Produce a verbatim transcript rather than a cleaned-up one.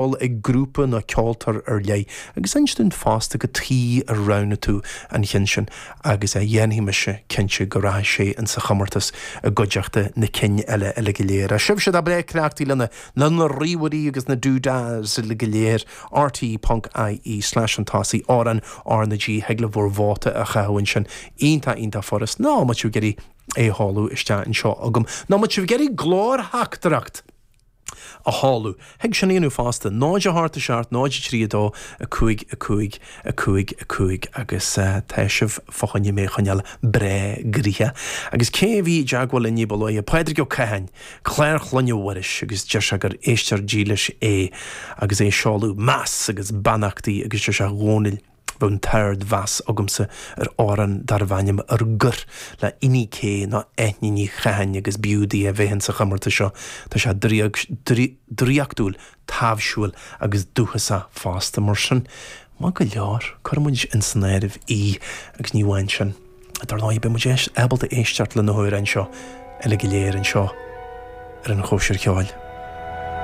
ag grúpa nó ceoltóir ar leith agus inis dúinn fosta cad chuige ar roghnaigh tú an ceann sin agus a dhéanfaidh mise cinnte go rachaidh sé insa chomórtas i gcuideachta na cinn eile eile go léir. A sibhse atá breá cleachtaithe lena lena ríomhairí agus na doodads uile go léir rte.ie slash an tosaigh amhrán R na G thig libh bhur vóta a chaitheamh ansin iontach iontach furast nó má tá sibh ag iarraidh é a sheoladh isteach anseo agam nó má tá sibh ag iarraidh glórtheachtaireacht a sheoladh. Thig sin a dhéanamh fosta, náid a hocht a seacht, náid a trí a dó, a cúig, a cúig, a cúig, a cúig agus tá sibh fá choinne mé a choinneáil breá gnoitheach. Agus cé a bhí i dteagmháil linn ní ba luaithe? Pádraig Ó Catháin, Clár Chlainne Mhuiris agus deir sé gur éisteoir dílis é agus é ag seoladh meas agus beannachtaí agus deir sé a Dhónaill, Bheadh an t-ardmheas agamsa ar amhrán darbh ainm Ar Gor le Inni K nó Eithne Ní Chatháin agus b'fhiú di a bheith insa chomórtas seo. Tá sé draíochtúil, taibhsiúil agus dúchasach fosta. Mar sin, maith go leor, cuirfidh muid insan áireamh í agus ní amháin sin. Dar ndóigh, beidh muid ábalta éisteacht le na hamhráin seo uile go léir anseo ar an Chóisir Cheoil.